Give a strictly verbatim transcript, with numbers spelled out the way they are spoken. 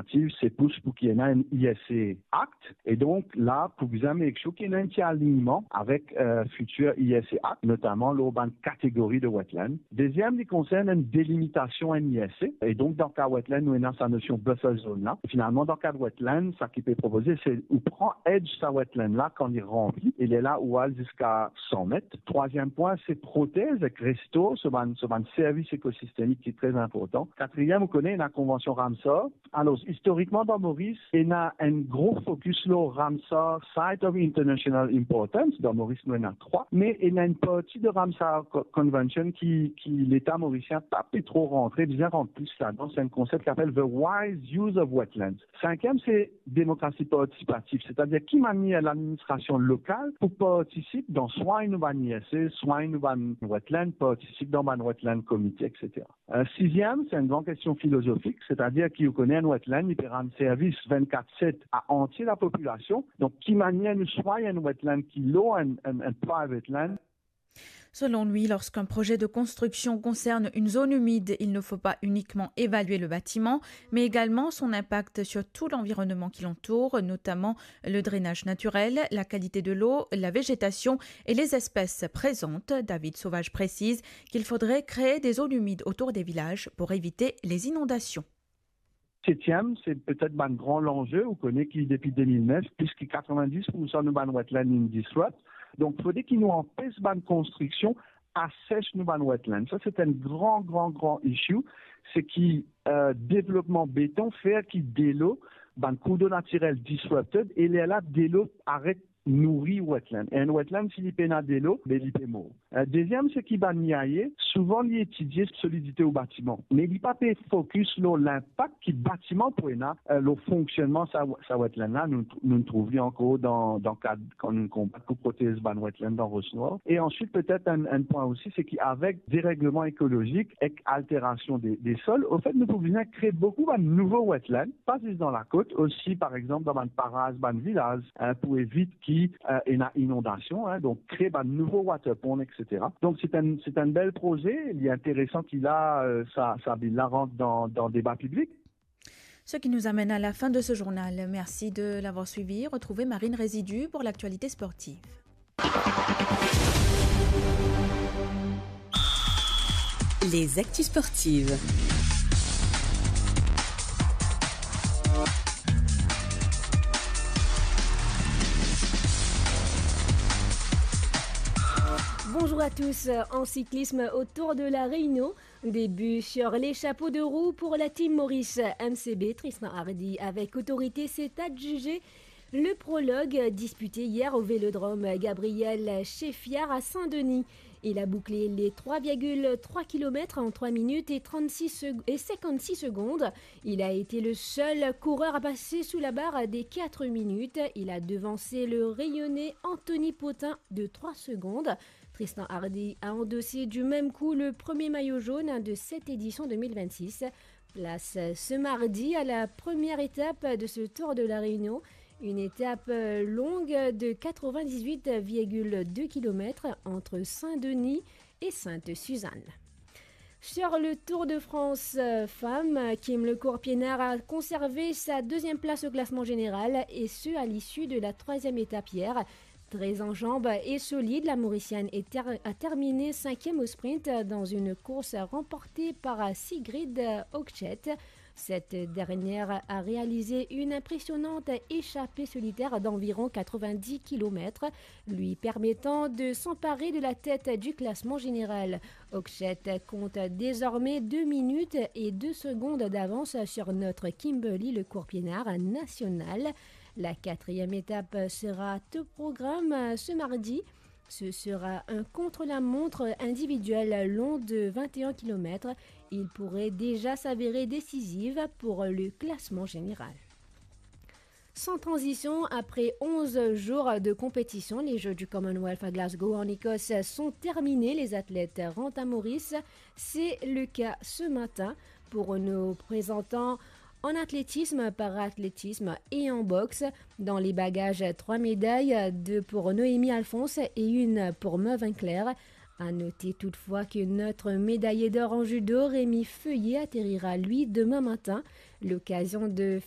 Objektif, se pous pou ki ena enn I S A Act. E donk, la, pou bizin make sure ki ena enn ti alignman avek, eh, fitir I S A Act, notaman lor bann kategori de wetland. Deziem, li konsern enn delimitasion enn I S A. E donk, dan ka wetland, nou ena sa nosion buffer zone la. Finalman, dan ka wetland, sa ki pe propoze, se ou pran edge sa wetland la kan li ranpli, e lerla ou al ziska san met. Trwaziem pwin, se protez ek restor so bann, so bann servis ekosistemik ki tre inportan. Katriem, ou kone, ena konvansion Ramsar. Alor, istorikman, dan Moris, ena enn gro fokis lor Ramsar Site of International Importance. Dan Moris, nou ena trwa, me ena enn parti de Ramsar Co-, Convention ki, ki Leta morisien pa pe tro rantre, bizin rant plis ladan. Se enn konsep ki apel the wise use of wetlands. Sinkiem, se demokrasi partisipatif, setadir ki manier ladministrasion lokal pou partisip dan swagn nou bann I S A, swagn nou bann wetland, partisip dan bann wetland committee, et cetera. Eh, siziem, se enn gran kestion filozofik, setadir ki ou kone enn wetland, li pe rann servis vennkat set a antie lapopilasion. Donk, ki manier nou swagn enn wetland ki lor enn, enn, enn private land? Selon lui, lorsqu'un projet de construction concerne une zone humide, il ne faut pas uniquement évaluer le bâtiment, mais également son impact sur tout l'environnement qui l'entoure, notamment le drainage naturel, la qualité de l'eau, la végétation et les espèces présentes. David Sauvage précise qu'il faudrait créer des zones humides autour des villages pour éviter les inondations. Setiem, se petet bann gran lanze, ou kone ki depi de mil nef, plis ki katrovin-dis poursan nou bann wetland inn disrupt. Donk, fode ki nou anpes bann konstriksion asech nou bann wetland. Sa, se enn gran, gran, gran issue. Se ki, eh, devlopman beton fer ki delo, bann kourdlo natirel disrupted, e lerla delo aret nouri wetland. E enn wetland, si li pena delo, be li pe mor. Eh, deziem, se ki bann I A, souvan li etidie solidite ou batiman, me li pa pe fokis lor linpak ki batiman pou ena, eh, lor fonksionnman sa, sa wetland la. Nou, nou trouv li ankor dan, dan kad kan nou konbat pou protez bann wetland dan Ros Nor. E answit, petet enn, enn pwin osi, se ki avek deregleman ekolozik ek alterasion de, de sol, anfet, nou pou bizin kree boukou bann nouvo wetland, pa zis dan lakot, osi, par exanp, dan bann paraz, bann vilaz, eh, pou evit ki, eh, ena inondasion, eh, donk kree bann nouvo water pond, et cetera. Donk, se enn, se enn bel proze, li interesan ki la, eh, sa, sa bill la rant dan, dan deba piblik. Ce qui nous amène à la fin de ce journal. Merci de l'avoir suivi. Retrouvez Marine Résidu pour l'actualité sportive. Les actus sportives. Bonjour à tous. En cyclisme au Tour de la Réunion, début sur les chapeaux de roue pour la Team Maurice M C B. Tristan Hardy, avec autorité, s'est adjugé le prologue disputé hier au Vélodrome Gabriel Chéfiard à Saint-Denis. Il a bouclé les trois virgule trois kilomètres en trois minutes et trente-six sec-, et cinquante-six secondes. Il a été le seul coureur à passer sous la barre des quatre minutes. Il a devancé le Réunionnais Anthony Potin de trois secondes. Tristan Hardy a endossé du même coup le premier maillot jaune de cette édition deux mille vingt-six. Place ce mardi à la première étape de ce Tour de la Réunion, une étape longue de quatre-vingt-dix-huit virgule deux kilomètres entre Saint-Denis et Sainte-Suzanne. Sur le Tour de France, euh, femmes, Kim Le Courpienard a conservé sa deuxième place au classement général, et ce, à l'issue de la troisième étape hier. Très en jambes et solide, la Mauricienne est ter-, a terminé cinquième au sprint dans une course remportée par Sigrid Hochschild. Cette dernière a réalisé une impressionnante échappée solitaire d'environ quatre-vingt-dix kilomètres, lui permettant de s'emparer de la tête du classement général. Hochschild compte désormais deux minutes et deux secondes d'avance sur notre Kimberly Le Courpienard national. La quatrième étape sera au programme ce mardi. Ce sera un contre-la-montre individuel long de vingt et un kilomètres. Il pourrait déjà s'avérer décisif pour le classement général. Sans transition, après onze jours de compétition, les Jeux du Commonwealth à Glasgow en Écosse sont terminés. Les athlètes rentrent à Maurice. C'est le cas ce matin pour nos présentants en athlétisme, para-athlétisme et en boxe. Dans les bagages, trois médailles, deux pour Noémie Alphonse et une pour Mervin Claire. À noter toutefois que notre médaillé d'or en judo, Rémi Feuillet, atterrira, lui, demain matin. L'occasion de